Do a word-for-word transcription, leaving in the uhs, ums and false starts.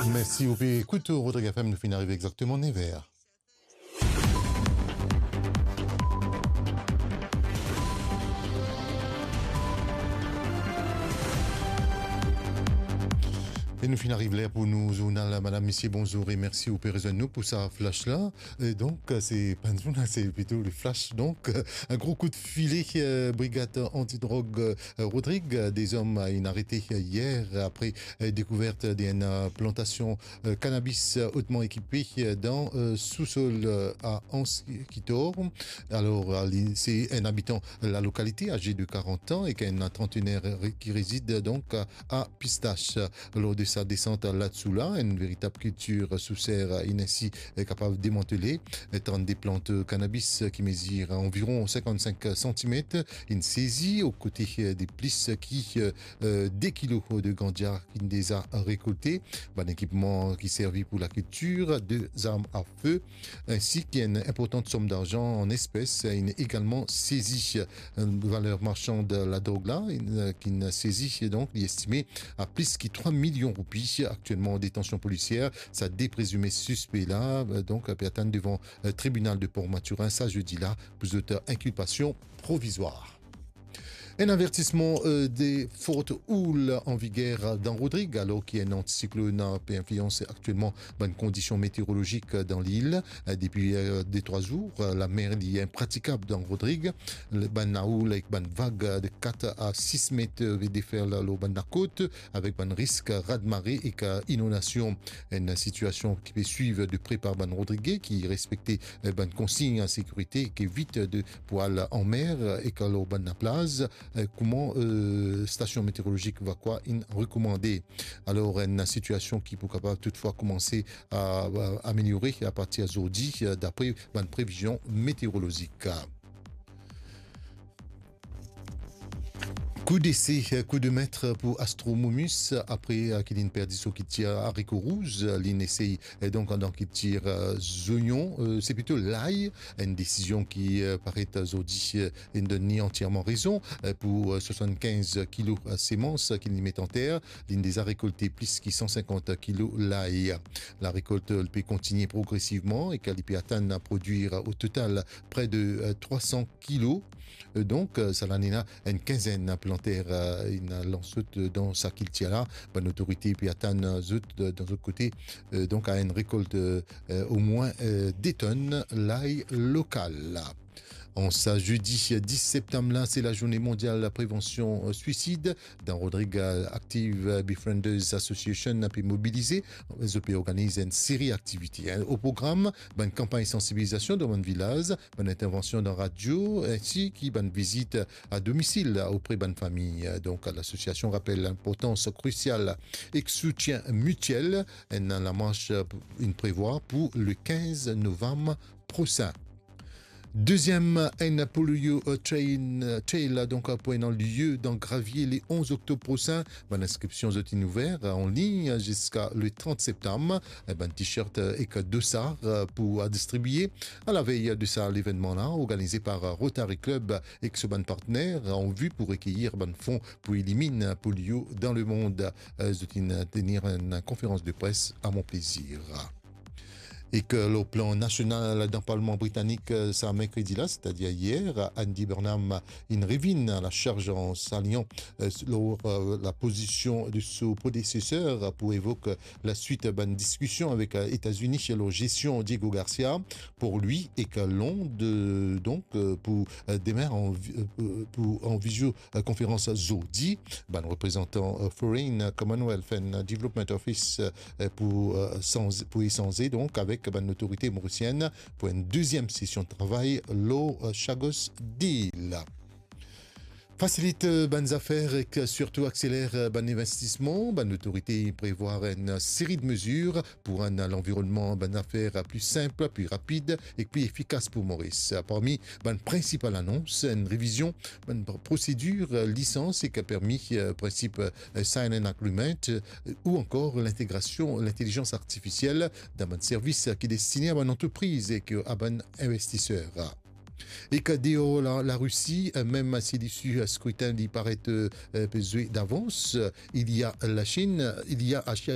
Mersi, ou pe ekout Rodrig F M, nou finn arive exakteman nev er. E nou finn ariv ler pou nou zournal. Madam, misie, bonzour e mersi ou pe rezwenn nou pou sa flash la. E donk, se pa enn zournal, se plito le flash. Donk, enn gro kout file, eh, brigad antidrog, eh, Rodrig, eh, de zom, eh, inn arete, eh, yer apre, eh, dekouvert de enn, eh, plantasion, eh, kanabis, eh, otman ekipe, eh, dan, eh, sousol, eh, a Anse Kitor. Alor, eh, li, se enn abitan lalokalite, aze de karant an, e ki enn trantener re-, ki rezid donk a, a Pistache. Lor de sa desant ladsou la, enn veritab kiltir sou ser inn ensi, eh, kapav demantele. Eh, trannde plant kanabis ki mezir anviron sinkannsink santimet inn sezi, o kote, eh, de plis ki, eh, eh, de kilo de ganja ki inn deza rekolte. Bann ekipman ki servi pou lakiltir, de zarm a fe, ensi ki enn inportan som darzan an espes, inn egalman sezi. Valer marsan ladrog la, inn, ki'nn sezi, donk, li estime a plis ki trwa milion roupi, aktielman an detansion polisier. Sa de prezime sispe la, donk, pe atann devan, eh, tribinal de Port Mathurin sa zedi la pou zot inkilpasion provizwar. Enn avertisman, eh, de forte houle an viger dan Rodrig, alor ki enn antisiklonn pe inflians aktielman bann kondision meteorolozik dan lil. Eh, depi, eh, de trwa zour, eh, lamer li inpratikab dan Rodrig. Le, bann lahoul ek bann vag, eh, de kat a sis met, eh, pe deferl lor bann lakot, avek bann risk raz-de-mare ek inondasion. Enn sitiasion ki pe swiv de pre par bann Rodrige ki respekte, eh, bann konsign sekirite, ki evit de pou al anmer ek lor bann laplaz, eh, kouma, eh, stasion meteorolozik Vacoas inn rekomande. Alor, enn sitiasion ki pou kapav toutfwa koumanse a, a ameliore apartir zordi, eh, dapre bann previzion meteorolozik. Kou dese, kou de met pou Astro Momus, apre, eh, ki li'nn perdi so kiltir zariko rouz, li'nn esey, eh, donk, dan kiltir, eh, zonion, eh, se plito lay, enn desizion ki, eh, paret zordi, eh, inn donn li antierman rezon, eh, pou, eh, swasannkinz kilo, eh, semans ki li met anter, li'nn deza rekolte plis ki san sinkant kilo lay. Larekolt, eh, li pe kontigne progresivman e ki li pe atann prodwir o total pre de, eh, trwa san kilo. Eh, donk, eh, sa lane la, enn kinzenn planter, eh, inn lans zot, eh, dan sa kiltir la. Bann otorite pe atann zot, eh, dan zot kote, eh, donk, a enn rekolt, eh, eh, omwin, eh, de tonn lay lokal. An sa zedi dis septam la, se lazourne mondial prevansion, eh, swisid. Dan Rodrig, eh, Active Befrienders Association pe mobilize, zot pe organiz enn seri aktivite, hein. O program, bann kanpagn sansibilizasion dan bann vilaz, bann intervansion dan radio, ensi ki bann vizit a domisil opre bann fami. Donk, lasosiasion rapel linportans krisial ek soutien mitiel. Enn lamars inn prevwar pou le kinz novam prosin. Deziem, enn polio, eh, train, eh, trail, donk, pou ena lie dan Gravier le onz oktob prosin. Bann inskripsion zot inn ouver, eh, an lign ziska le trant septam. Eh, bann t-shirt, eh, ek dossard, eh, pou, eh, distribie. A lavey de sa levennman la, organize par, eh, Rotary Club ek so bann partner, eh, an vi pou rekeir bann fon pou eliminn polio dan lemond. Eh, zot inn tenir enn konferans de pres a Mon Plaisir. Ek lor plan nasional, dan Parlman britanik, eh, sa merkredi la, setadir yer, Andy Burnham inn revinn a la charz an salian, eh, lor, eh, lapozision de so predeseser pou evok laswit bann diskision avek, eh, Etazini lor gestion Diego Garcia, pou li ek Lond, eh, donk, eh, pou, eh, demin an vi-, eh, pou, an vizio eh, konferans zordi, bann reprezantan, eh, Foreign, Commonwealth and Development Office, eh, pou, eh, sanz-, pou esanze donk avek bann lotorite morisienn pou enn deziem sesion travay lor, eh, Chagos Deal. Fasilit, eh, bann zafer ek sirtou akseler, eh, bann linvestisman. Bann lotorite prevwar enn seri de mezir pou rann lanvironnman bann zafer pli sinp, pli rapid ek pli efikas pou Moris. Parmi bann prinsipal anons, enn revizion bann pr-, prosedir lisans ek permi, eh, prinsip, eh, silent agreement, eh, ou ankor lintegrasion lintelizans artifisiel dan bann servis ki destine a bann antrepriz ek a bann investiser. Ek deor la, Larisi, eh, mem si lisi skritin li paret, eh, pe zwe davans, eh, il y a la Chine, il y a Asia